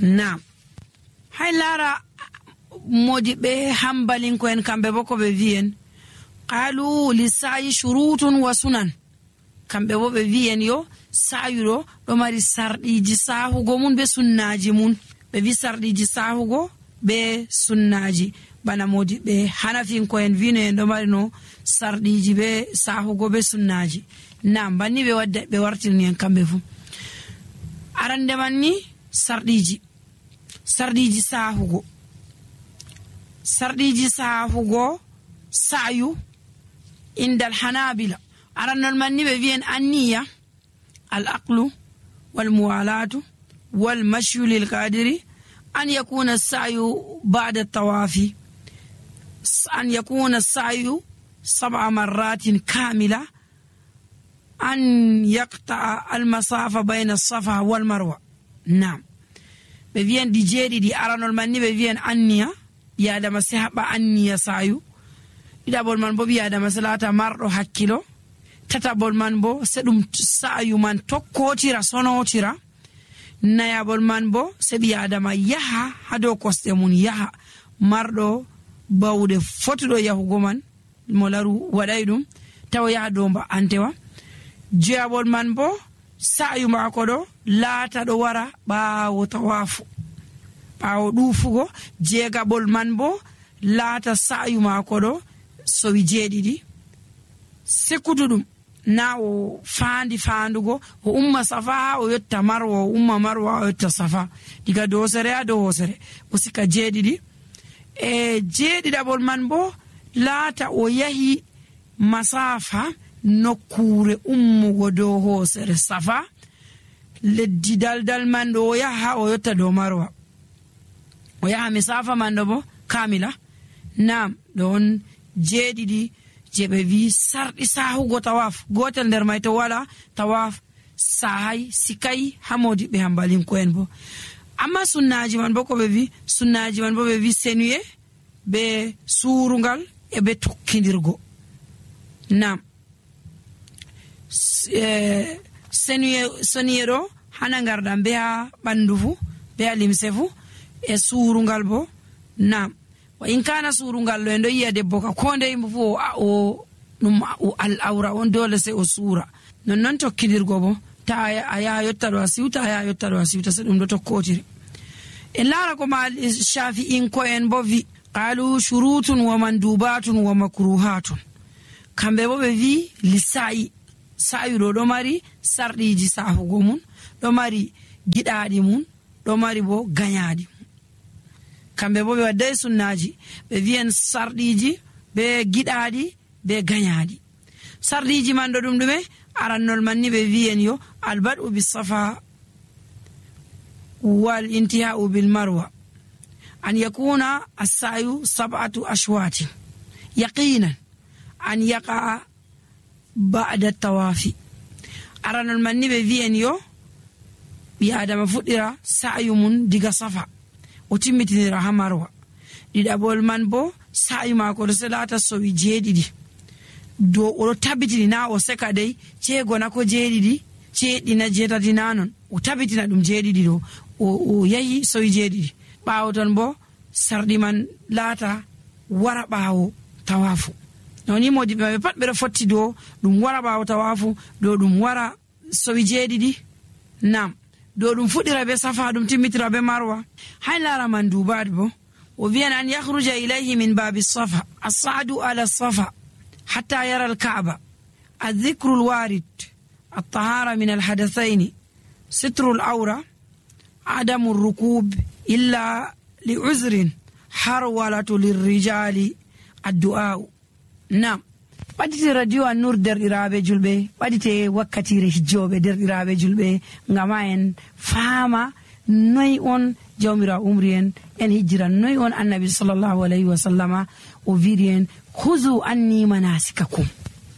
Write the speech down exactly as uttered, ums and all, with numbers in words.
Naam. Hay lara modiɓe hambalinko en kamɓe bo ko ɓe wi'en qalu li sa'i shurutun wa sunan. Kamɓe bo ɓe wi'en yo sa'yuɗo ɗo mari sarɗiji sahugo mun be sunnaji mun. Ɓe wi sarɗiji sahugo be sunnaji bana modiɓe hanafinko en wino en ɗo mari no sarɗiji be sahugo be sunnaji. Naam, banni ɓe wadda ɓe wartirni en kamɓe fu. Arande man ni sarɗiji sarɗiji sahugo sarɗiji sahugo sa'yu indal hanabila. Arannol man ni ɓe wi'en anniya al aqlu wal muwalatu wal mashyu lil qadiri an yakuna sa'yu ba'da tawafi an yakuna sa'yu sab'a marratin kamila an yaqta'a al masafa bayna as-safa wal marwa. Naam, ɓe wi'en ɗi jeeɗiɗi. Aranol man ni ɓe wi'en anniya, ɓi adama se haɓa anniya sayu. ɗiɗaɓol man bo ɓi adama se laata marɗo hakkilo. tataɓol man bo se ɗum sayu man tokkotira sonotira. nayaɓol man bo se ɓi adama yaha ha dow kosɗe mun, yaha marɗo bawɗe fotuɗo yahugo man mo laru waɗay ɗum tawa yaha dow mba'antewa. joyaɓol man bo sa'yu mako ɗo laata ɗo wara ɓaawo tawafu, ɓaawo ɗuufugo. jeegaɓol man bo laata sa'yu mako ɗo sowi jeeɗiɗi sekkutuɗum na o faandi faandugo o umma safa o yotta marwa, o umma marwa o yotta safa, diga dow hosere ha dow hosere o sika jeeɗiɗi. e jeeɗiɗaɓol man bo laata o yahi masafa nokkure ummugo dow hosere safa, leddi daldal man ɗo o yaha o yotta dow marwa, o yaha misafa man ɗo bo kamila. Naam, ɗon jeeɗiɗi je ɓe wi sarɗi sahugo tawaf. gotel nder may to wala tawaf sahay sikay ha modiɓe hambalinko en bo. amma sunnaji man bo ko ɓe wi sunnaji man bo ɓe wi senuye be surungal e be tokkidirgo. Naam, senuye soniye ɗo hana ngarɗam be ha ɓandu fu be ha limse fu e surungal bo. Naam, wa in kana surungal ɗo en ɗo yiya debbo ka ko nde yimɓe fu o ɗum al awra on dole se o suura. nonnon tokkidirgo bo ta a yaha yotta ɗo a siwta a yaha yotta ɗo a siwta se ɗum ɗo tokkotiri. en laara ko ma shafi'inko en bo vi qalu shurutun wa mandubatun wa makruhatun. kamɓe bo ɓe vi lisa'i sa'yuɗo ɗo mari sarɗiji sahugo mun, ɗo mari giɗaɗi mun, ɗo mari bo gañaɗi mun. kamɓe bo ɓe wadday sunnaji, ɓe wi'en sarɗiji be giɗaɗi be gañaɗi. sarɗiji man ɗo ɗum ɗume? arannol man ni ɓe wi'en yo albad'u bis safa wal intiha'u bil marwa an yakuna as-sa'yu sab'atu ashwati yaqinan an yaqa ba'da tawafi. aranol man ni ɓe wi'en yo ɓi adama fuɗɗira sa'yu mun diga safa o timmitinira ha marwa. ɗiɗaɓol man bo sa'yu mako ɗo se laata sowi jeeɗiɗi dow oɗo tabitini na o seka dey ceegona ko jeeɗiɗi ceeɗina jeetati na non, o tabitina ɗum jeeɗiɗi ɗo o yahi sowi jeeɗiɗi. ɓaawo ton bo sarɗi man laata wara ɓaawo tawafu. noni modiɓe maɓɓe pat ɓeɗo fotti dow ɗum wara ɓaawo tawafu, dow ɗum wara sowi jeeɗiɗi. nam dow ɗum fuɗɗira be safa ɗum timmitira be marwa. hay laara man dubaɗ bo o wiyan an yahruja ilayhi min babi safa as'adu ala safa hatta yara al-ka'ba adh-dhikru al-warid at-tahara min al-hadathayn sitru al-awra adamu ar-rukub illa li'uzrin harwalatu lir-rijali ad-du'a. nam ɓadite radio an-nur derɗiraɓe julɓe, ɓadite wakkatire hijjoɓe derɗiraɓe julɓe, ngama en faama noy on jawmira umri en en hijjira, noy on annabi sallallahu alayhi wa sallama o wiiri en huzu anni manasikakum.